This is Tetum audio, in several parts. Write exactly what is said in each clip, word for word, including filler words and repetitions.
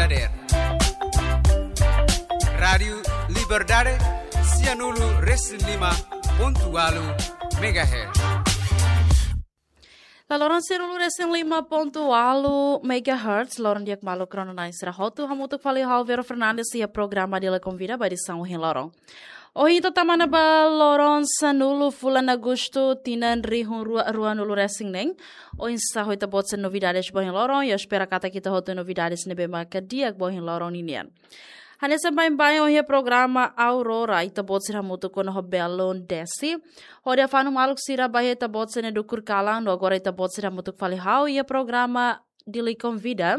Dader. Rádiu Liberdade, sianulu resin lima pontu ualu megahertz. La loron sianulu resin lima pontu ualu megahertz, loron di'ak maluk rona-na'in sira hotu, hamutuk fali ho ha'u Vero Fernandes iha programa Dili Konvida ba edisaun ohin loron. Ohin ita tama ona ba loron sanulu fulan Agostu tinan rihun rua ruanulu resin neen. Oinsá ho ita-boot sira-nia novidades ba ohin loron, ha'u espera katak ita hotu novidades ne'ebé maka di'ak ba ohin loron ninian. Hanesan baibain ohin iha programa Aurora, ita-boot sira hamutuk ona ho Belun Desi. Hodi afanu maluk sira ba iha ita-boot sira-nia dukur kalan, no agora ita-boot sira hamutuk fali ho ha'u iha programa Dili Konvida.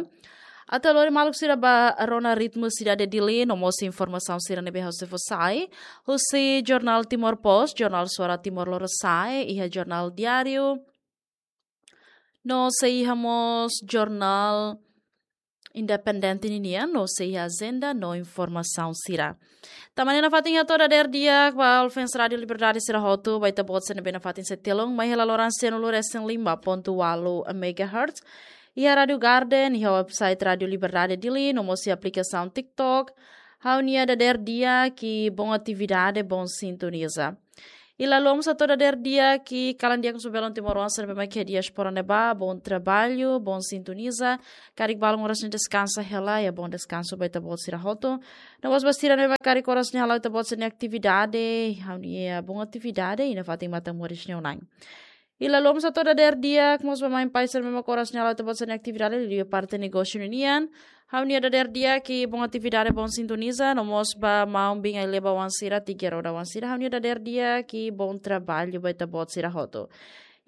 Atu lori maluk sira ba rona ritmu sidade Dili, no mós informasaun sira ne'ebé ha'u sei fó sai. Husi Jornál Timor Post, Jornál Suara Timor Lorosa'e, iha Jornál Diáriu. No sei iha mós Jornál Independente ninian, no sei iha ajenda no informasaun sira. Tama ona nafatin hato'o dader di'ak ba ouvinte Rádiu Liberdade sira hotu, ba ita-boot sira ne'ebé nafatin sei telun mai iha la loron sianulu resin lima pontu ualu megahertz. Iha Rádiu Garden, iha website Rádiu Liberdade Dili, no mós iha aplikasaun TikTok. Ha'u-nia dader di'ak i bom atividade, bom sintoniza. I la loron mós hato'o dader di'ak kalan di'ak husi belun timoroan sira ne'ebé mak iha diáspora ne'ebá, bom trabalho, bom sintoniza. Karik balun oras ne'e deskansa hela, iha bom deskansu ba ita-boot sira hotu. No mós ba sira ne'ebé mak karik oras ne'e hala'o ita-boot sira-nia atividade, ha'u-nia bom atividade, i nafatin matan moris nia unan. I la loron mós hato'o dader di'ak mós ba mãe pai sira ne'ebé mak oras ne'e hala'o ita-boot sira-nia atividade, liuliu parte negósiu ninian. Ha'u-nia dader di'ak i bom atividade, bom sintoniza, no mós ba maun-bin ai-leba oan sira, tiki roda oan sira, ha'u-nia dader di'ak i bom trabalho ba ita-boot sira hotu.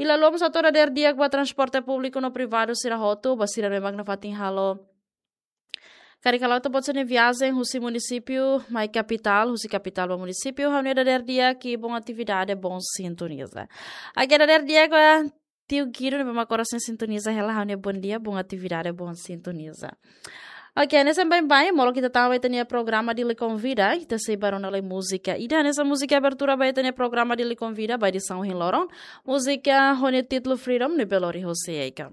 I la loron mós hato'o dader di'ak ba transporte públiku no privadu sira hotu, ba sira ne'ebé mak nafatin halo karik hala'o ita-boot sira-nia viajen husi munisípiu mai kapitál, husi kapitál ba munisípiu, ha'u-nia dader di'ak i bom atividade, bom sintoniza. Oke, dader di'ak ba tiu Guido ne'ebé mak oras ne'e sintoniza hela, ha'u-nia bom dia, bom atividade, bom sintoniza. Oke, hanesan baibain, molok ita tama ba ita-nia programa Dili Konvida, ita sei ba rona lai múzika. Ida hanesan múzika abertura ba ita-nia programa Dili Konvida, ba edisaun ohin loron. Múzika ho nia títulu Freedom, ne'ebé lori José Eika.